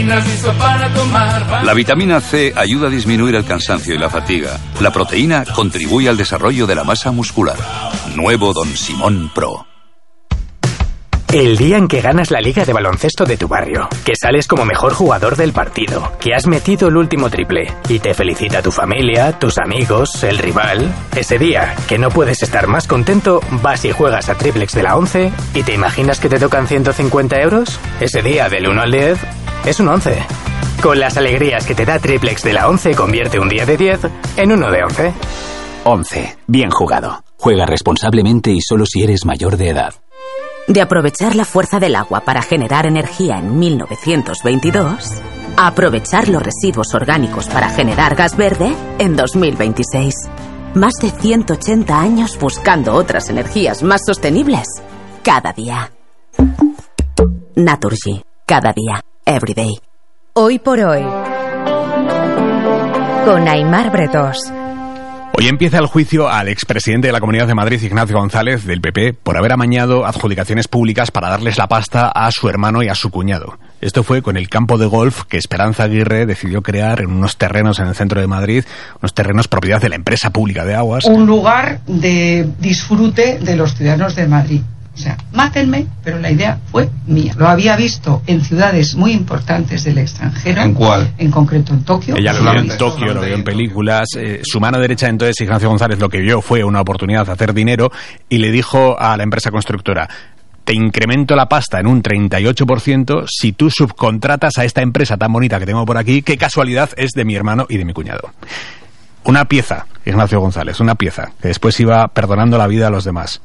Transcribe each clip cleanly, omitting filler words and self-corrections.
vitaminas listas para tomar. La vitamina C ayuda a disminuir el cansancio y la fatiga. La proteína contribuye al desarrollo de la masa muscular. Nuevo Don Simón Pro. El día en que ganas la liga de baloncesto de tu barrio, que sales como mejor jugador del partido, que has metido el último triple y te felicita tu familia, tus amigos, el rival. Ese día, que no puedes estar más contento, vas y juegas a Triplex de la 11 y te imaginas que te tocan 150 euros. Ese día, del 1 al 10, es un 11. Con las alegrías que te da Triplex de la 11, convierte un día de 10 en uno de 11. 11. Bien jugado. Juega responsablemente y solo si eres mayor de edad. De aprovechar la fuerza del agua para generar energía en 1922, a aprovechar los residuos orgánicos para generar gas verde en 2026. Más de 180 años buscando otras energías más sostenibles cada día. Naturgy. Cada día. Every day. Hoy por hoy. Con Aimar Bretós. Hoy empieza el juicio al expresidente de la Comunidad de Madrid, Ignacio González, del PP, por haber amañado adjudicaciones públicas para darles la pasta a su hermano y a su cuñado. Esto fue con el campo de golf que Esperanza Aguirre decidió crear en unos terrenos en el centro de Madrid, unos terrenos propiedad de la empresa pública de aguas. Un lugar de disfrute de los ciudadanos de Madrid. O sea, mátenme, pero la idea fue mía. Lo había visto en ciudades muy importantes del extranjero. ¿En cuál? En concreto en Tokio. Ella lo vio en Tokio, lo vio en películas. Su mano derecha entonces, Ignacio González, lo que vio fue una oportunidad de hacer dinero y le dijo a la empresa constructora: te incremento la pasta en un 38% si tú subcontratas a esta empresa tan bonita que tengo por aquí, qué casualidad es de mi hermano y de mi cuñado. Una pieza, Ignacio González, una pieza, que después iba perdonando la vida a los demás.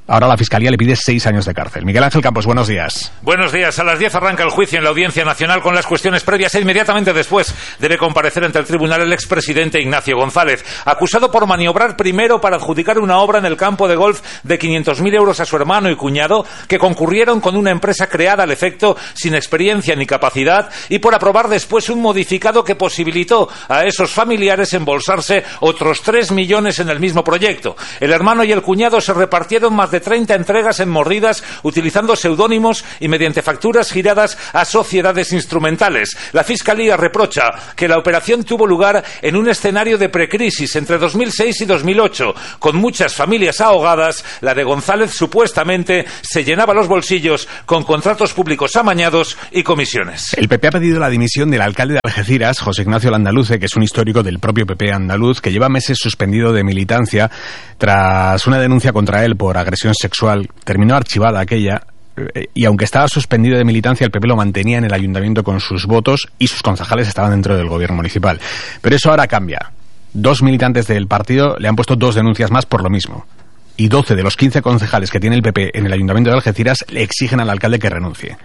Ahora la Fiscalía le pide 6 años de cárcel. Miguel Ángel Campos, buenos días. Buenos días. A las 10 arranca el juicio en la Audiencia Nacional con las cuestiones previas e inmediatamente después debe comparecer ante el tribunal el expresidente Ignacio González, acusado por maniobrar primero para adjudicar una obra en el campo de golf de 500.000 euros a su hermano y cuñado, que concurrieron con una empresa creada al efecto sin experiencia ni capacidad, y por aprobar después un modificado que posibilitó a esos familiares embolsarse otros 3 millones en el mismo proyecto. El hermano y el cuñado se repartieron más de 30 entregas en mordidas utilizando seudónimos y mediante facturas giradas a sociedades instrumentales. La Fiscalía reprocha que la operación tuvo lugar en un escenario de precrisis entre 2006 y 2008, con muchas familias ahogadas. La de González supuestamente se llenaba los bolsillos con contratos públicos amañados y comisiones. El PP ha pedido la dimisión del alcalde de Algeciras, José Ignacio Landaluce, que es un histórico del propio PP andaluz, que lleva meses suspendido de militancia tras una denuncia contra él por agresión sexual. Terminó archivada aquella, y aunque estaba suspendido de militancia, el PP lo mantenía en el ayuntamiento con sus votos y sus concejales estaban dentro del gobierno municipal. Pero eso ahora cambia. 2 militantes del partido le han puesto 2 denuncias más por lo mismo. Y 12 de los 15 concejales que tiene el PP en el ayuntamiento de Algeciras le exigen al alcalde que renuncie.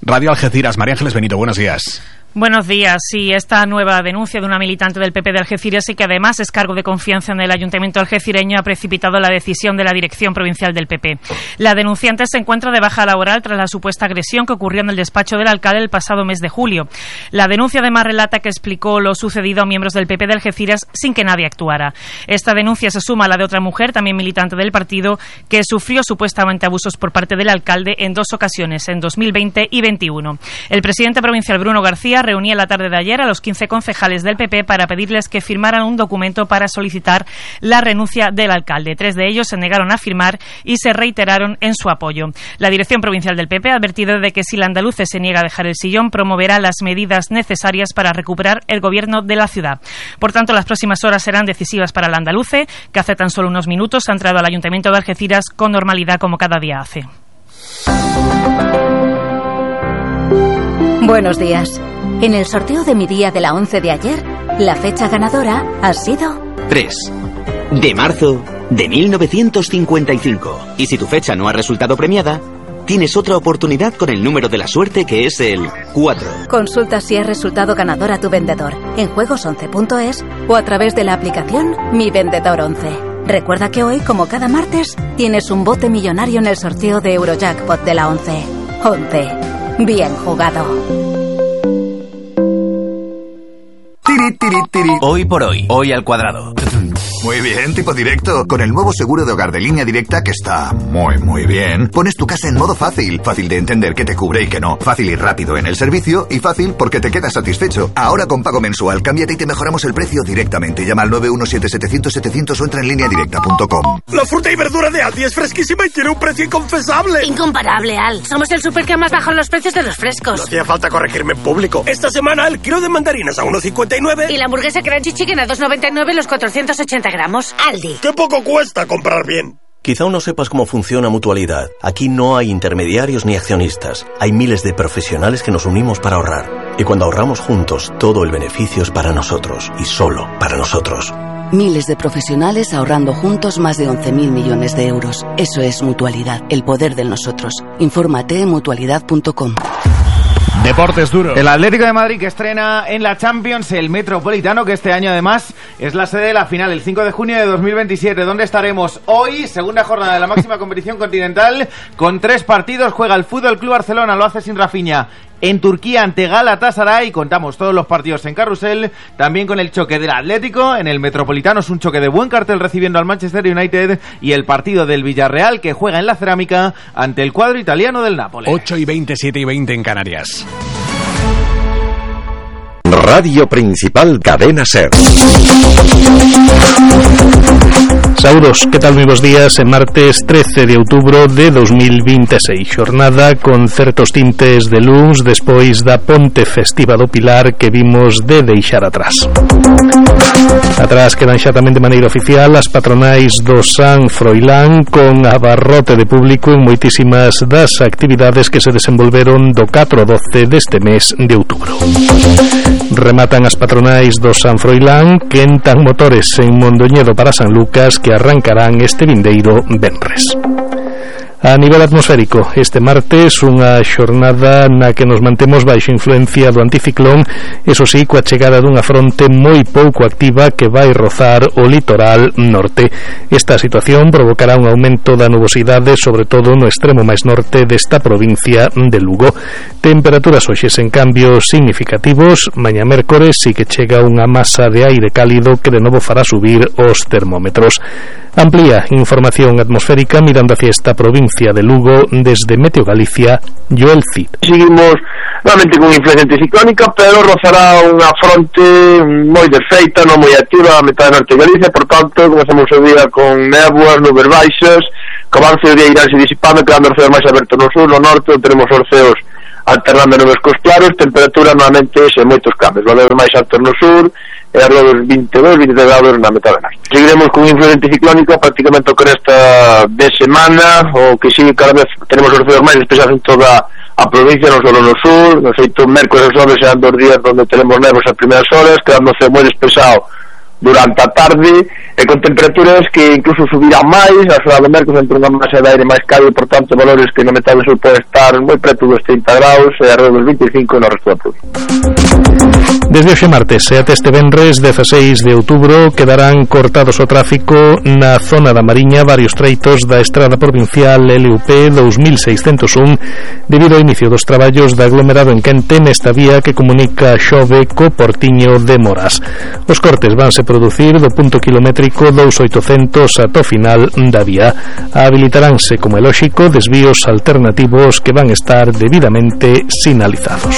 Radio Algeciras, María Ángeles Benito, buenos días. Buenos días. Sí, esta nueva denuncia de una militante del PP de Algeciras y que además es cargo de confianza en el ayuntamiento algecireño ha precipitado la decisión de la dirección provincial del PP. La denunciante se encuentra de baja laboral tras la supuesta agresión que ocurrió en el despacho del alcalde el pasado mes de julio. La denuncia además relata que explicó lo sucedido a miembros del PP de Algeciras sin que nadie actuara. Esta denuncia se suma a la de otra mujer, también militante del partido, que sufrió supuestamente abusos por parte del alcalde en 2 ocasiones, en 2020 y 2021. El presidente provincial Bruno García reunía la tarde de ayer a los 15 concejales del PP para pedirles que firmaran un documento para solicitar la renuncia del alcalde. 3 de ellos se negaron a firmar y se reiteraron en su apoyo. La dirección provincial del PP ha advertido de que si Landaluce se niega a dejar el sillón, promoverá las medidas necesarias para recuperar el gobierno de la ciudad. Por tanto, las próximas horas serán decisivas para Landaluce, que hace tan solo unos minutos ha entrado al ayuntamiento de Algeciras con normalidad como cada día hace. Buenos días. En el sorteo de mi día de la 11 de ayer, la fecha ganadora ha sido 3 de marzo de 1955. Y si tu fecha no ha resultado premiada, tienes otra oportunidad con el número de la suerte, que es el 4. Consulta si has resultado ganador a tu vendedor en juegos11.es o a través de la aplicación Mi Vendedor 11. Recuerda que hoy, como cada martes, tienes un bote millonario en el sorteo de Eurojackpot de la 11. 11. Bien jugado. Hoy por hoy, hoy al cuadrado. Muy bien, tipo directo. Con el nuevo seguro de hogar de Línea Directa, que está muy bien, pones tu casa en modo fácil. Fácil de entender qué te cubre y qué no. Fácil y rápido en el servicio y fácil porque te quedas satisfecho. Ahora con pago mensual, cámbiate y te mejoramos el precio directamente. Llama al 917-700-700 o entra en lineadirecta.com. La fruta y verdura de Aldi es fresquísima y tiene un precio inconfesable. Incomparable, Al. Somos el súper que más bajado los precios de los frescos. No hacía falta corregirme en público. Esta semana el kilo de mandarinas a 1,59. Y la hamburguesa Crunchy Chicken a 2,99 los 480 gramos. Aldi. ¡Qué poco cuesta comprar bien! Quizá aún no sepas cómo funciona Mutualidad. Aquí no hay intermediarios ni accionistas. Hay miles de profesionales que nos unimos para ahorrar. Y cuando ahorramos juntos, todo el beneficio es para nosotros. Y solo para nosotros. Miles de profesionales ahorrando juntos más de 11.000 millones de euros. Eso es Mutualidad, el poder del nosotros. Infórmate en mutualidad.com. Deportes duros. El Atlético de Madrid que estrena en la Champions el Metropolitano, que este año además es la sede de la final, el 5 de junio de 2027. ¿Dónde estaremos hoy? Segunda jornada de la máxima competición continental, con 3 partidos. Juega el Fútbol Club Barcelona, lo hace sin Rafinha, en Turquía ante Galatasaray. Contamos todos los partidos en Carrusel, también con el choque del Atlético en el Metropolitano. Es un choque de buen cartel recibiendo al Manchester United, y el partido del Villarreal que juega en la Cerámica ante el cuadro italiano del Nápoles. 8:20, 7:20 en Canarias. Radio Principal, Cadena SER. Saúdos, que tal? Moi bons días. En martes 13 de outubro de 2026, xornada con certos tintes de luns despois da ponte festiva do Pilar que vimos de deixar atrás. Atrás quedan xa tamén de maneira oficial as patronais do San Froilán, con abarrote de público en moitísimas das actividades que se desenvolveron do 4 ao 12 deste mes de outubro. Rematan as patronais do San Froilán, que entan motores en Mondoñedo para San Lucas, que arrancarán este vindeiro venres. A nivel atmosférico, este martes unha xornada na que nos mantemos baixo influencia do anticiclón, eso sí, coa chegada dunha fronte moi pouco activa que vai rozar o litoral norte. Esta situación provocará un aumento da nubosidade, sobre todo no extremo máis norte desta provincia de Lugo. Temperaturas hoxes en cambios significativos. Mañá mércores sí que chega unha masa de aire cálido que de novo fará subir os termómetros. Amplía información atmosférica mirando hacia esta provincia de Lugo desde Meteo Galicia, Joel Cid. Seguimos nuevamente con influencia anticiclónica, pero rozará unha fronte moi desfeita, non moi activa a metade norte de Galicia, por tanto, comezamos o día con néboas, nubes baixas, que avance o día iránse disipando, quedando os ceos máis abertos no sur, no norte, onde teremos os ceos alternando nubes cos claros, temperatura normalmente sen moitos cambios, valores máis altos no sur, e alrededor dos 22-23 grados na metade norte. Seguiremos con influencia anticiclónica prácticamente con esta de semana, o que sí, cada vez tenemos os ceos máis despejados en toda a provincia, non só no sur. No feito, mércores e xoves serán 2 días onde teremos nevos as primeiras horas, quedando o ceo moi despexado durante a tarde, e con temperaturas que incluso subirán máis. A xornada de mércores entre unha masa de aire máis cálido, por tanto valores que no metade sur pode estar moi preto dos 30 graus e alrededor dos 25 no resto da provincia. Desde hoxe martes e até este venres 16 de outubro quedarán cortados o tráfico na zona da Mariña varios treitos da estrada provincial LUP 2601 debido ao inicio dos traballos de aglomerado en Quente nesta vía que comunica Xove co Portiño de Moras. Os cortes vanse producir do punto kilométrico 2800 ata o final da vía. Habilitaránse, como é lóxico, desvíos alternativos que van estar debidamente sinalizados.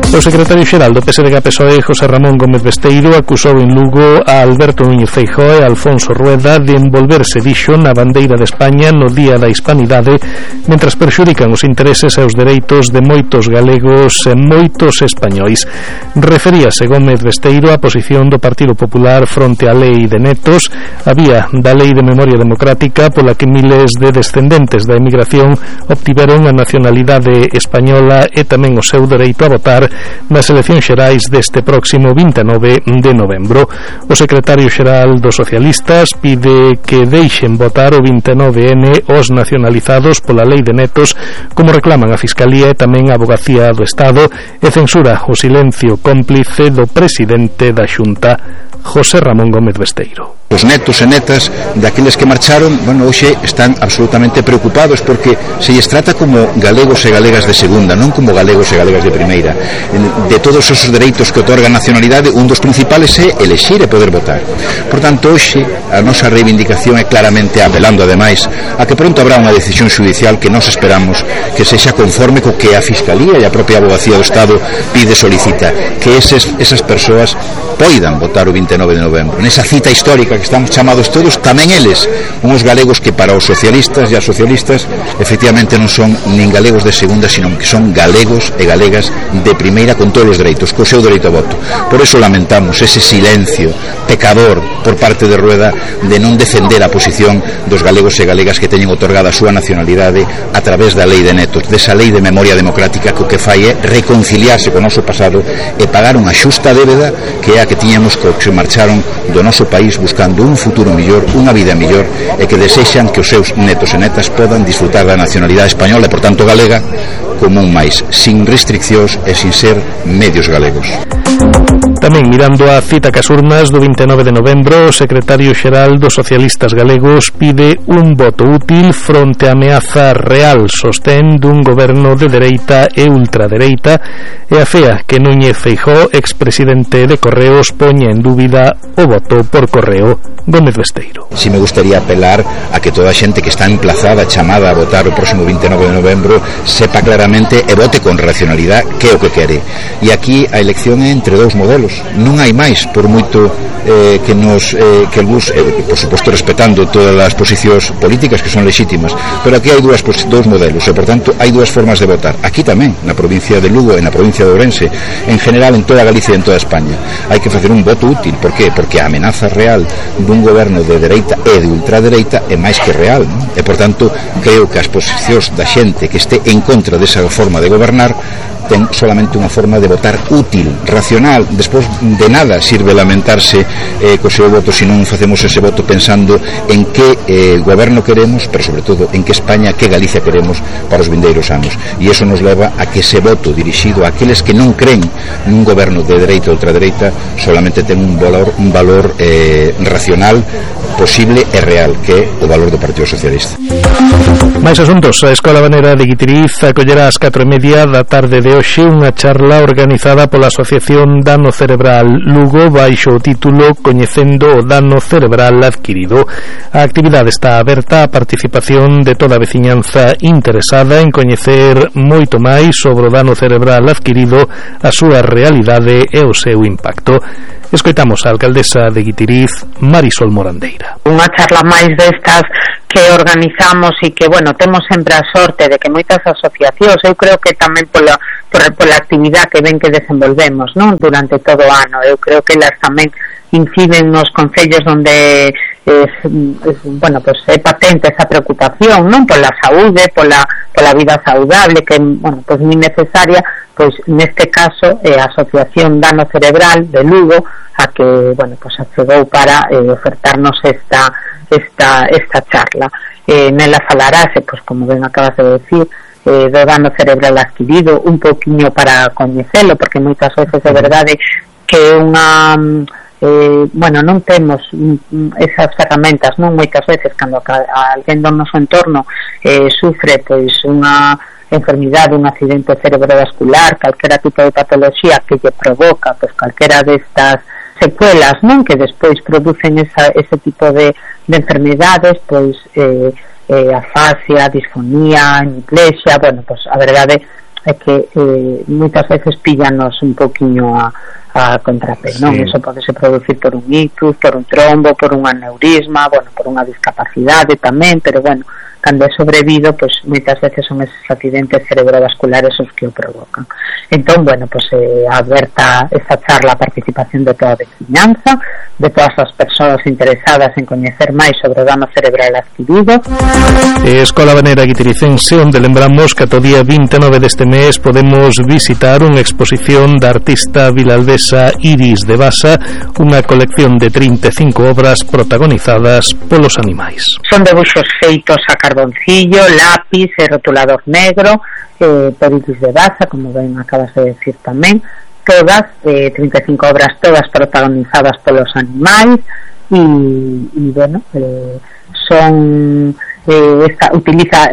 O secretario xeral do PSDG-PSOE, José Ramón Gómez Besteiro, acusou en Lugo a Alberto Núñez Feijóo e Alfonso Rueda de envolverse, dixo, na bandeira de España no Día da Hispanidade, mentras perxudican os intereses e os dereitos de moitos galegos e moitos españois. Referíase Gómez Besteiro á posición do Partido Popular fronte á lei de netos, a vía da Lei de Memoria Democrática pola que miles de descendentes da emigración obtiveron a nacionalidade española e tamén o seu dereito a votar nas eleccións xerais deste próximo 29 de novembro. O secretario xeral dos socialistas pide que deixen votar o 29N os nacionalizados pola lei de netos, como reclaman a Fiscalía e tamén a Avogacía do Estado, e censura o silencio cómplice do presidente da Xunta, José Ramón Gómez Besteiro. Os netos e netas daqueles que marcharon, bueno, hoxe están absolutamente preocupados porque se lles trata como galegos e galegas de segunda, non como galegos e galegas de primeira. De todos esos dereitos que otorga a nacionalidade, un dos principales é elexir e poder votar. Por tanto, hoxe a nosa reivindicación é claramente apelando ademais a que pronto habrá unha decisión judicial que nos esperamos que sexa conforme co que a Fiscalía e a propia Abogacía do Estado pide e solicita, que esas persoas poidan votar o 29 de novembro. Nesa cita histórica que estamos chamados todos, tamén eles, uns galegos que para os socialistas e as socialistas efectivamente non son nin galegos de segunda, sino que son galegos e galegas de primeira con todos os dereitos, co seu dereito a voto. Por eso lamentamos ese silencio pecador por parte de Rueda de non defender a posición dos galegos e galegas que teñen otorgada a súa nacionalidade a través da lei de netos, desa lei de memoria democrática que o que fai é reconciliarse co noso pasado e pagar unha xusta débeda que é a que tiñamos co que marcharon do noso país buscando un futuro mellor, unha vida mellor e que desexan que os seus netos e netas podan disfrutar da nacionalidade española e por tanto galega como un máis, sin restriccións e sin ser medios galegos. Tamén mirando a cita cas urnas do 29 de novembro, o secretario xeral dos socialistas galegos pide un voto útil fronte a ameaza real, sostén dun goberno de dereita e ultradereita, e afea que Núñez Feijóo, expresidente de Correos, poña en dúbida o voto por correo. Gómez Besteiro. Si me gustaría apelar a que toda a xente que está emplazada, chamada a votar o próximo 29 de novembro, sepa claramente e vote con racionalidade que é o que quere. E aquí a elección é entre dous modelos. Non hai máis, por moito que algúns, por suposto respetando todas as posicións políticas que son lexítimas, pero aquí hai dous modelos e por tanto hai dúas formas de votar. Aquí tamén, na provincia de Lugo e na provincia de Ourense, en general en toda Galicia e en toda España. Hai que facer un voto útil. Por qué? Porque a amenaza real dun goberno de dereita e de ultradereita é máis que real, non? E por tanto creo que as posicións da xente que este en contra desa forma de gobernar ten solamente unha forma de votar útil, racional. Despois de nada sirve lamentarse co seu voto se non facemos ese voto pensando en que goberno queremos, pero sobre todo en que España, que Galicia queremos para os vindeiros anos. E iso nos leva a que ese voto dirixido a aqueles que non creen nun goberno de dereita ou ultradereita solamente ten un valor racional, posible e real, que é o valor do Partido Socialista. Mais asuntos. A Escola Banera de Guitiriz acollerá ás 4:30 da tarde de hoxe unha charla organizada pola Asociación Dano Cerebral Lugo baixo o título Coñecendo o dano cerebral adquirido. A actividade está aberta á participación de toda a veciñanza interesada en coñecer moito máis sobre o dano cerebral adquirido, a súa realidade e o seu impacto. Escoitamos a alcaldesa de Guitiriz, Marisol Morandeira. Unha charla máis destas que organizamos e que, bueno, temos sempre a sorte de que moitas asociacións, eu creo que tamén pola actividade que ven que desenvolvemos, non, durante todo o ano, eu creo que elas tamén inciden nos concellos onde bueno, pues é patente esa preocupación, non, pola saúde, pola vida saudable, que, bueno, pues moi necesaria, pois neste caso a Asociación Dano Cerebral de Lugo a que, bueno, pues achegou para ofertarnos esta charla. Nela falarase, pues como ben acabas de decir, do dano cerebral adquirido, un poquinho para coñecelo, porque moitas veces é verdade que unha bueno, non temos esas ferramentas, non, moitas veces cando alguén do noso entorno sufre pois unha enfermidade, un accidente cerebrovascular, calquera tipo de patoloxía que lle provoca pois calquera destas secuelas, non, que despois producen ese tipo de enfermidades, pois afasia, disfonía, hemiplesia, bueno, pois a verdade é que moitas veces píllanos un poquinho a contrapé, non? Sí. Eso podese producir por un ictus, por un trombo, por un aneurisma, bueno, por unha discapacidade tamén, pero bueno, cando é sobrevido, pois moitas veces son esos accidentes cerebrovasculares os que o provocan. Entón, bueno, pois aberta esta charla a participación de toda a veciñanza, de todas as persoas interesadas en coñecer máis sobre o dano cerebral adquirido. Escola Banera Guitiricense, onde lembramos que ata o día 29 deste mes podemos visitar unha exposición da artista vilaldesa Iris de Basa, unha colección de 35 obras protagonizadas polos animais. Son debuxos feitos a carboncillo, lápiz e rotulador negro, por Iris de Basa, como ben acabas de decir tamén, todas, 35 obras todas protagonizadas polos animais, y bueno, son utiliza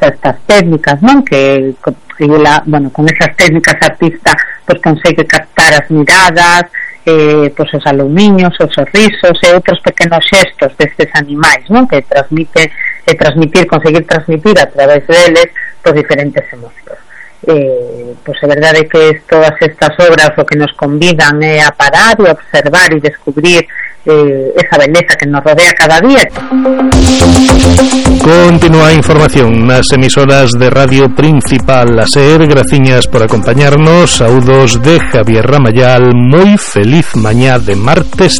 estas técnicas, ¿no? Que con esas técnicas artista pues consegue captar as miradas, pues os alumiños, os sorrisos e outros pequenos xestos destes animais, ¿no? Que conseguir transmitir a través deles pues diferentes emocións. Pues a verdade é que todas estas obras o que nos convidan é a parar e observar e descubrir esa beleza que nos rodea cada día. Continúa a información nas emisoras de Radio Principal a SER. Graciñas por acompañarnos. Saúdos de Javier Ramayal. Moi feliz mañá de martes 3.